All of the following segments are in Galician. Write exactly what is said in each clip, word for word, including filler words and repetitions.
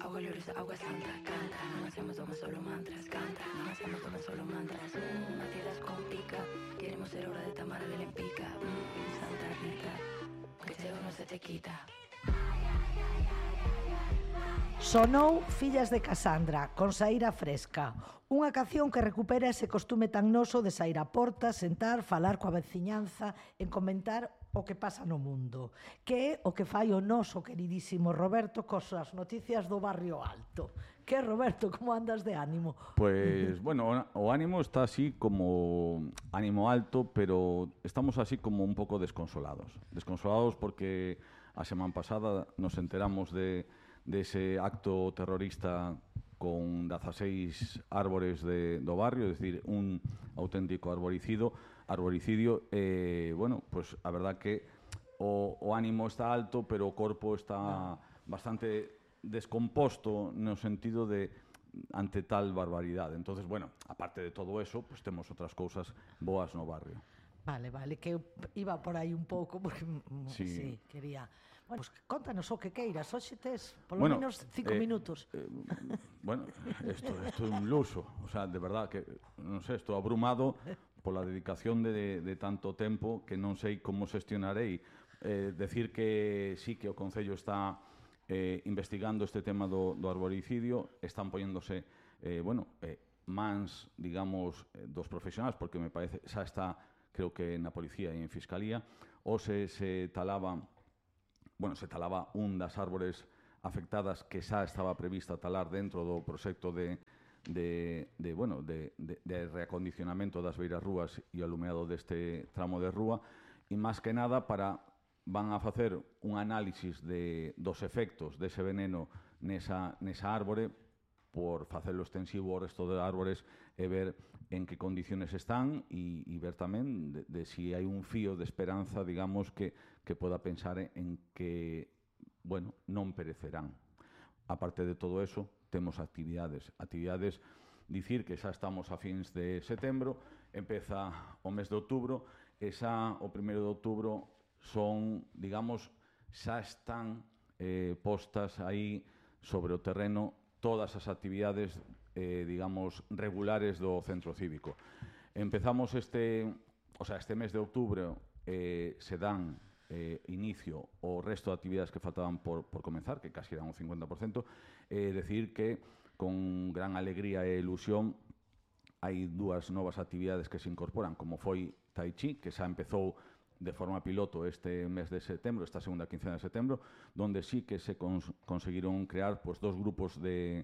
Agua gloriosa, agua santa, canta. No hacemos tomas solo mantras, canta. No hacemos tomas solo mantras. Mm, Matías con pica. Queremos ser obra de Tamara de Lempica. Mm, Santa Rita, que ceo no se te quita. Sonou Fillas de Casandra, con Saíra Fresca, unha canción que recupera ese costume tan noso de saír a porta, sentar, falar coa veciñanza, en comentar o que pasa no mundo, que é o que fai o noso queridísimo Roberto cos as noticias do Barrio Alto. Que, Roberto, como andas de ánimo? Pues, bueno, o ánimo está así como ánimo alto, pero estamos así como un pouco desconsolados. Desconsolados porque a semana pasada nos enteramos de de ese acto terrorista con dieciséis árbores de, do barrio, es decir, un auténtico arboricido, arboricidio, eh, bueno, pues a verdad que o, o ánimo está alto, pero o corpo está bastante descomposto no sentido de ante tal barbaridade. Entonces, bueno, aparte de todo eso, pues temos outras cousas boas no barrio. Vale, vale, que eu iba por aí un pouco porque sí, Sí. sí quería. Bueno, pues contanos o que queiras, hoxe tes polo Bueno, menos cinco eh, minutos. Eh, bueno, esto, esto é un luso, o sea, de verdad que, non sei, estou abrumado pola dedicación de, de tanto tempo que non sei como xestionarei. Eh, decir que sí que o Concello está eh, investigando este tema do, do arboricidio, están poñéndose, eh, bueno, eh, mans, digamos, eh, dos profesionais, porque me parece, xa está, creo que na Policía e en Fiscalía, ou se, se talaba, bueno, se talaba un das árbores afectadas que xa estaba prevista talar dentro do proxecto de, de, de, bueno, de, de, de reacondicionamento das beiras rúas e o alumeado deste tramo de rúa, e máis que nada para van a facer un análisis de, dos efectos dese veneno nesa, nesa árbore por facelo extensivo ao resto de árbores e ver en que condiciones están e, e ver tamén de, de si hai un fío de esperanza, digamos, que, que poda pensar en que, bueno, non perecerán. Aparte de todo eso, temos actividades. Actividades, dicir que xa estamos a fins de setembro, empeza o mes de outubro, e xa o primeiro de outubro son, digamos, xa están eh, postas aí sobre o terreno todas as actividades, eh, digamos, regulares do centro cívico. Empezamos este, o sea, este mes de outubro, eh, se dan eh, inicio o resto de actividades que faltaban por, por comenzar, que casi eran un cincuenta por ciento, eh, decir que con gran alegría e ilusión hai dúas novas actividades que se incorporan, como foi Tai Chi, que xa empezou de forma piloto este mes de setembro, esta segunda quincena de setembro, donde sí que se cons conseguiron crear pues, dos grupos de,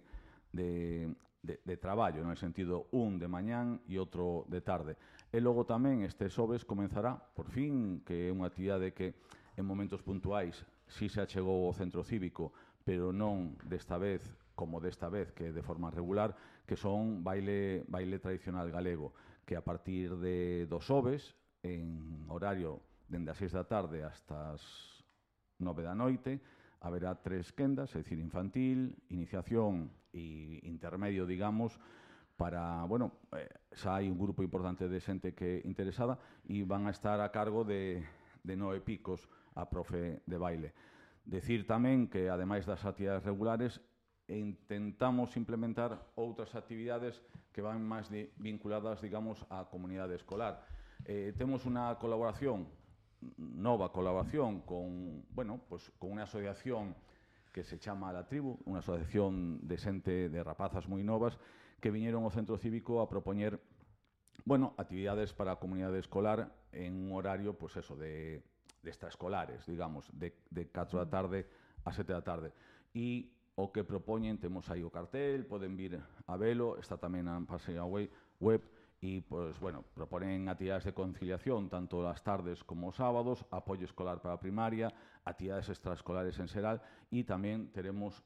de, de, de traballo, no sentido un de mañán e outro de tarde. E logo tamén este xoves comenzará, por fin, que é unha actividade que en momentos puntuais sí se achegou ao centro cívico, pero non desta vez como desta vez, que de forma regular, que son baile, baile tradicional galego, que a partir de dos xoves, en horario dende as seis da tarde hasta as nove da noite, haberá tres quendas, é dicir, infantil, iniciación e intermedio, digamos, para, bueno, eh, xa hai un grupo importante de xente que interesada e van a estar a cargo de, de nove picos a profe de baile. Decir tamén que, ademais das actividades regulares, intentamos implementar outras actividades que van máis de, vinculadas, digamos, á comunidade escolar. Eh, temos unha colaboración, nova colaboración con, bueno, pues, con unha asociación que se chama La Tribu, unha asociación de xente de rapazas moi novas que viñeron ao centro cívico a propoñer, bueno, actividades para a comunidade escolar en un horario, pues eso, de, de extraescolares, digamos, de, de catro da tarde a sete da tarde. E o que propoñen, temos aí o cartel, poden vir a velo, está tamén na página web, e, pues, bueno, proponen actividades de conciliación tanto as tardes como os sábados, apoio escolar para a primaria, actividades extraescolares en xeral, e tamén teremos,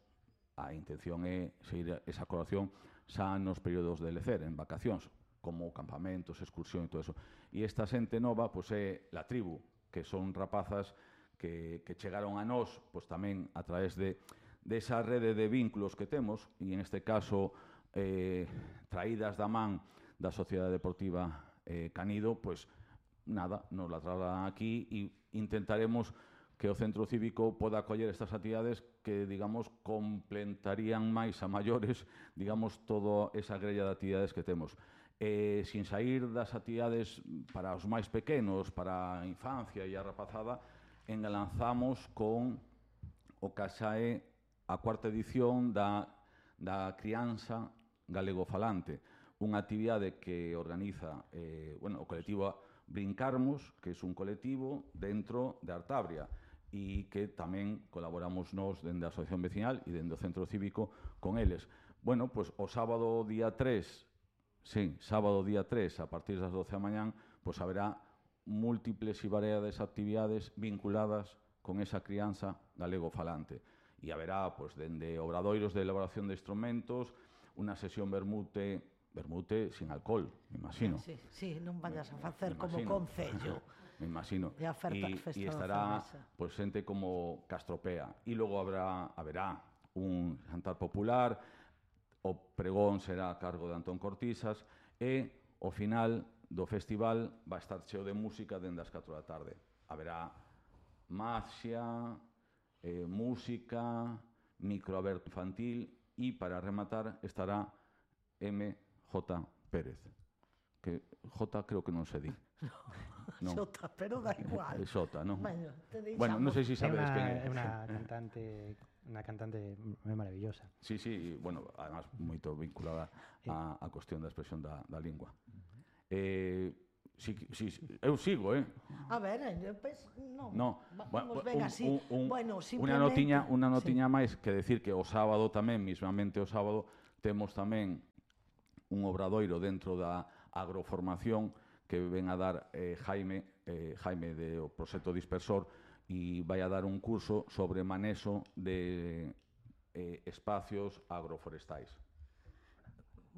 a intención é seguir esa colaboración xa nos períodos de lecer, en vacacións, como campamentos, excursión e todo eso. E esta xente nova, pois, é La Tribu, que son rapazas que, que chegaron a nós, pois, tamén a través de, de esa rede de vínculos que temos, e en este caso, eh, traídas da man da Sociedade Deportiva eh, Canido, pois nada, nos la trasladan aquí e intentaremos que o centro cívico poda acoller estas actividades que, digamos, complementarían máis a maiores, digamos, toda esa grella de actividades que temos. Eh, sin sair das actividades para os máis pequenos, para a infancia e a rapazada, engalanzamos con o que xa é a cuarta edición da, da crianza galegofalante, unha actividade que organiza eh, bueno, o colectivo Brincarmos, que é un colectivo dentro de Artabria, e que tamén colaboramos nós dende a Asociación Vecinal e dende o Centro Cívico con eles. Bueno, pois o sábado día tres, sí, sábado día tres, a partir das doce da mañán, pois haberá múltiples e variadas actividades vinculadas con esa crianza galego-falante. E haberá, pois, dende obradoiros de elaboración de instrumentos, unha sesión vermute, vermute sin alcohol, me imagino. Sí, sí, non vayas a facer me como imagino. Concello. Me imagino. E a oferta, E, festa e da estará cerveza. pois, xente como Castropea. E logo habrá, haberá un jantar popular, o pregón será a cargo de Antón Cortisas, e o final do festival vai estar cheo de música dende as catro da tarde. Haberá maxia, eh, música, microaberto infantil e, para rematar, estará M J Pérez. Que J creo que non se di. No. Xota, pero da igual. É Xota, non? Bueno, te deixamos. Bueno, non sei se É sabedes unha, quen é. é unha cantante, unha cantante moi maravillosa. Sí, sí, bueno, además moito vinculada á, á cuestión da expresión da, da lingua. Eh, sí, sí, eu sigo, eh? A ver, eu penso, non. No, Vamos ben así. un, un, bueno, unha notiña, unha sí. notiña máis que decir que o sábado tamén, mismamente o sábado, temos tamén un obradoiro dentro da agroformación que ven a dar eh, Jaime, eh, Jaime do Proxecto Dispersor, e vai a dar un curso sobre manexo de eh, espacios agroforestais.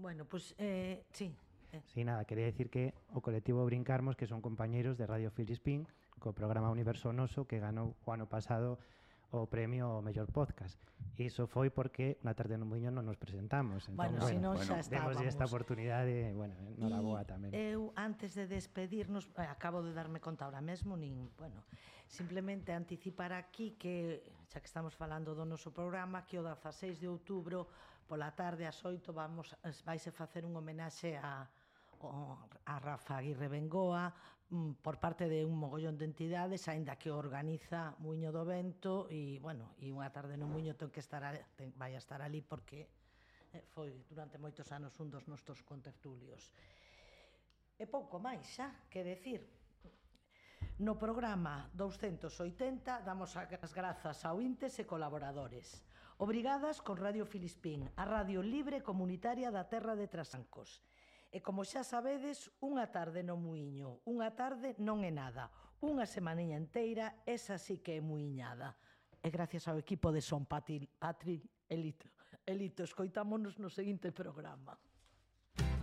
Bueno, pois, pues, eh, sí. Eh. Sí, nada, quería decir que o colectivo Brincarmos, que son compañeiros de Radio Filispín, co programa Universo Noso, que ganou o ano pasado o premio ao mellor podcast. E iso foi porque na tarde no Muiño non nos presentamos. Entón, Bueno, bueno, se non bueno, xa estábamos. demos esta oportunidade, bueno, noraboa tamén. Eu, antes de despedirnos, eh, acabo de darme conta ahora mesmo, nin, bueno, simplemente anticipar aquí que, xa que estamos falando do noso programa, que o dezaseis de outubro, pola tarde ás oito, vamos, vaise facer un homenaxe a, a Rafa Aguirre Bengoa, por parte de un mogollón de entidades, aínda que organiza Muiño do Vento, e, bueno, e unha tarde no Muiño ten que estar, a, ten, vai a estar ali porque eh, foi durante moitos anos un dos nosos contertulios. E pouco máis, xa, que decir. No programa douscentos oitenta damos as grazas a ointes e colaboradores. Obrigadas con Radio Filispín, a radio libre comunitaria da terra de Trasancos. E como xa sabedes, unha tarde no Muiño, unha tarde non é nada, unha semaniña enteira, esa sí que é muiñada. E gracias ao equipo de Son Patri, Patri Elito, Elito, escoitámonos no seguinte programa.